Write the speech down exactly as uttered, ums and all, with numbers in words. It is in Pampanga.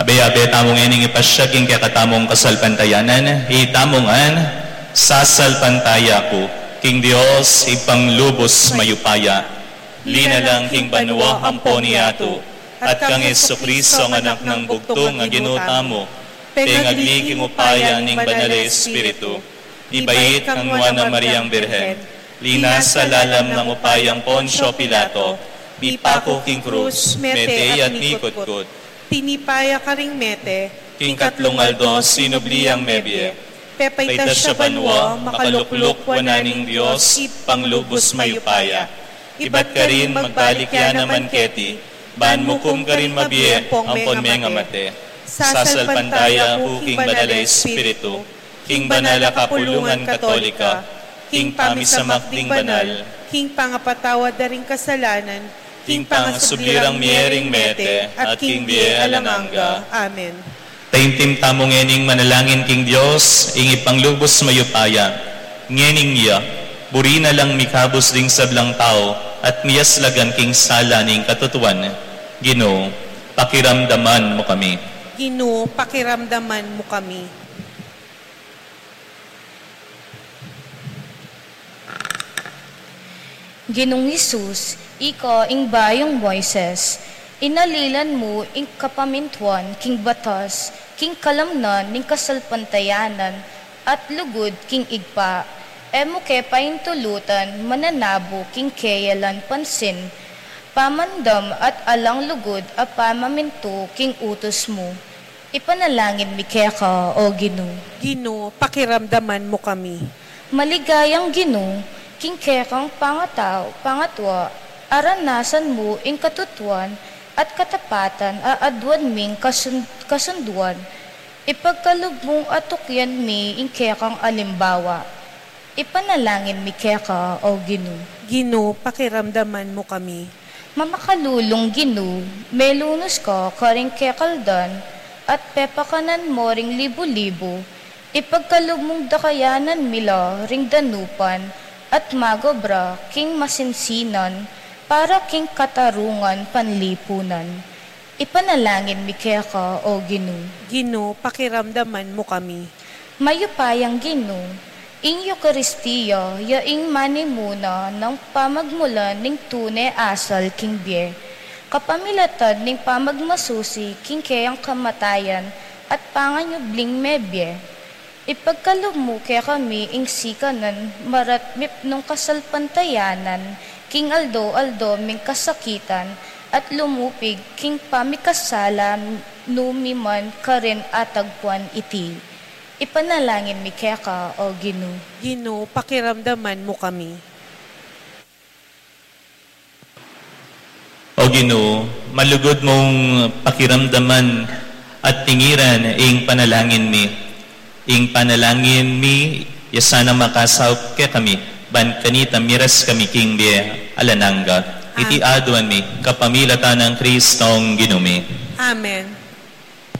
Beyabe tamu ngening ipasiag ing kekatamung kasalpantayanan, itamu ngan, sasalpantaya ku king Dios, Ibpang lubus mayupaya. Linalang king banua ampon yatu, at kang Jesucristo, ang Anak nang bugtung a Ginu tamu, pengagli king upaya ning Banal a Espiritu, mibait kang nuan a Mariang Birhen, linasa lalam nang upayang Poncio Pilato, mipaku king krus, mete at mikutkut. Tinipa ya karing mete, king katlung aldo sinubli yang mebie. Pepaitas ya banua, makalukluk wanan ning Dios, Ibpang lubus mayupaya. Ibat karin magbalik ya naman keti, ban mukum karing mabie ampon mengamate. Sasalpantaya ku king Banal a Espiritu, king banal a kapulungan Katolika, king pamisamak ding banal, king pangapatawad da ring kasalanan, king pangasubli rang mie ring mete, at king bie alang angga. Amen. Taimtim tamu ngening manalangin king Dios, ing Ibpang lubus mayupaya. Ngening iya, buri na lang mikabus ding sablang tau, at miyaslagan king sala ning katutuan. Ginu, pakiramdaman mu kami. Ginu, pakiramdaman mu kami. Ginung Jesus, ika ing bayung Moises, inalilan mu ing kapamintuan king batas, king kalamnan ning kasalpantayanan, at lugud king Ibpa. E mu ke paintulutan mananabu king keyalan pansin, pamandam at alang lugud a pamamintu king utus mu. Ipanalangin mi keka, O Ginu. Ginu, pakiramdaman mu kami. Maligayang Ginu, king kekang pangatau, pangatua, aranasan mu ing katutuan at katapatan a aduan ming kasun-, kasunduan. Ipagkalub mung atukyan mi ing kekang alimbawa. Ipanalangin mi keka, O Ginu. Ginu, pakiramdaman mu kami. Mamakalulung Ginu, melunus ka karing kekaldan, at pepakanan mo ring libu-libu, ipagkalub mung dakayanan mi la ring danupan, at magobra king masinsinan, para king katarungan panlipunan. Ipanalangin mi keka, O Ginu. Ginu, pakiramdaman mu kami. Mayupayang Ginu, ing Eukaristia ya ing manimuna nang pamagmulan ning tune asal king bie, kapamilatan ning pamagmasusi king keyang kamatayan at panganyubling mebie. Ipagkalub mu kekami ing sikanan maratmip nung kasalpantayanan king aldo-aldo ming kasakitan at lumupig king pamikasala nu mi man karin atagpuan iti. Ipanalangin mi keka, O Ginu. Ginu, pakiramdaman mu kami. O Ginu, malugud mung pakiramdaman at tingiran ing panalangin mi. Ing panalangin mi, ya sana makasaup kekami, ban kanita miras kami king bie alang angga. Iti aduan mi, kapamilatan nang Kristong Ginu mi. Amen.